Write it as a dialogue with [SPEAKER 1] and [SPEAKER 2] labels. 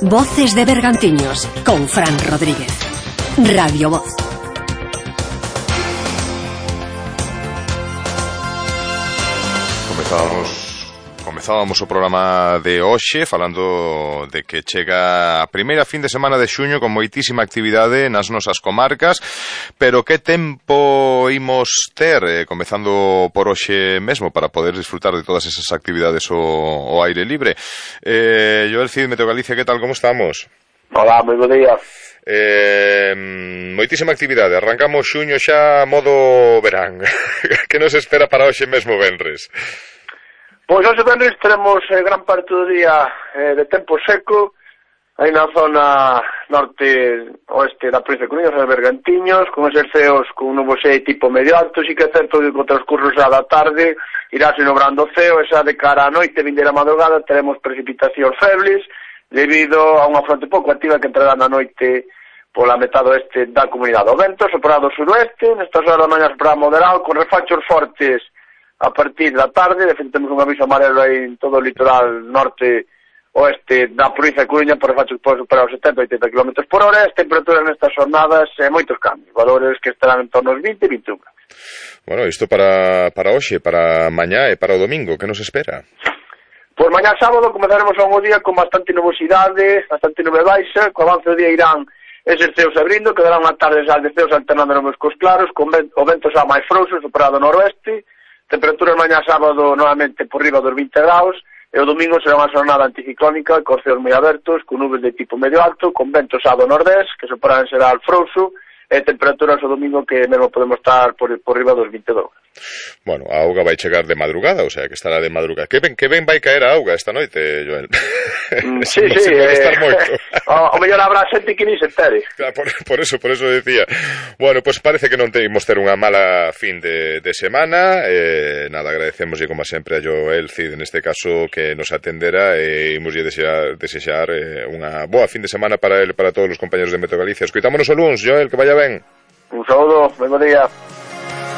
[SPEAKER 1] Voces de Bergantiños, con Fran Rodríguez. Radio Voz.
[SPEAKER 2] Comezábamos o programa de hoxe falando de que chega a primeira fin de semana de xuño con moitísima actividade nas nosas comarcas, pero que tempo imos ter, comezando por hoxe mesmo, para poder disfrutar de todas esas actividades ao aire libre. Joel Cid, Meteo Galicia, que tal, como estamos?
[SPEAKER 3] Hola, moi bo día.
[SPEAKER 2] Moitísima actividade, arrancamos xuño xa modo verán. Que nos espera para hoxe mesmo venres?
[SPEAKER 3] Pois hoxe venres teremos gran parte do día de tempo seco aí na zona norte-oeste da provincia de Coruña, de Bergantiños, con eses ceos con un nuboxei tipo medio alto. Si que é certo que co transcurso xa da tarde irase nobrando o ceo, e xa de cara á noite, vindeira madrugada, teremos precipitacións febles debido a unha fronte pouco activa que entrará na noite pola metade oeste da comunidade. O vento soprará do suroeste, nestas horas da mañá soprará moderado, con refachos fortes a partir da tarde. De feito, temos un aviso amarelo aí en todo o litoral norte-oeste da provincia de Coruña por refachos que poden superar os 70-80 km por hora. As temperaturas nestas jornadas, moitos cambios, valores que estarán en torno aos 20 e 21 graus.
[SPEAKER 2] Bueno, isto para hoxe, para mañá e para o domingo, que nos espera?
[SPEAKER 3] Por mañá sábado comezaremos un día con bastante nubosidade, bastante nube baixa. Co avance do día irán eses ceos abrindo, que darán unha tarde de ceos alternando nos cos claros, con o vento xa máis frouxo, superado ao noroeste. Temperaturas mañá sábado novamente por riba dos 20 graus, e o domingo será unha jornada anticiclónica, con ceos moi abertos, con nubes de tipo medio alto, con vento xa do nordés, que superarán será al frouxo, e temperaturas o domingo que mesmo podemos estar por riba dos 22 graus.
[SPEAKER 2] Bueno, a auga vai chegar de madrugada, o sea, que estará de madrugada. Que ben vai caer a auga esta noite, Joel.
[SPEAKER 3] Sí,
[SPEAKER 2] se pode estar moito.
[SPEAKER 3] O mellor habrá xente que ni se entere.
[SPEAKER 2] Claro, por eso decía. Bueno, pues parece que non teimos ter unha mala fin de semana. Nada, agradecemoslle como sempre a Joel Cid, neste caso, que nos atendera, e imoslle desexar unha boa fin de semana para ele, para todos os compañeros de Meteo Galicia. Escoitámonos o luns, Joel, que vaya ben.
[SPEAKER 3] Un saúdo, ben bo día.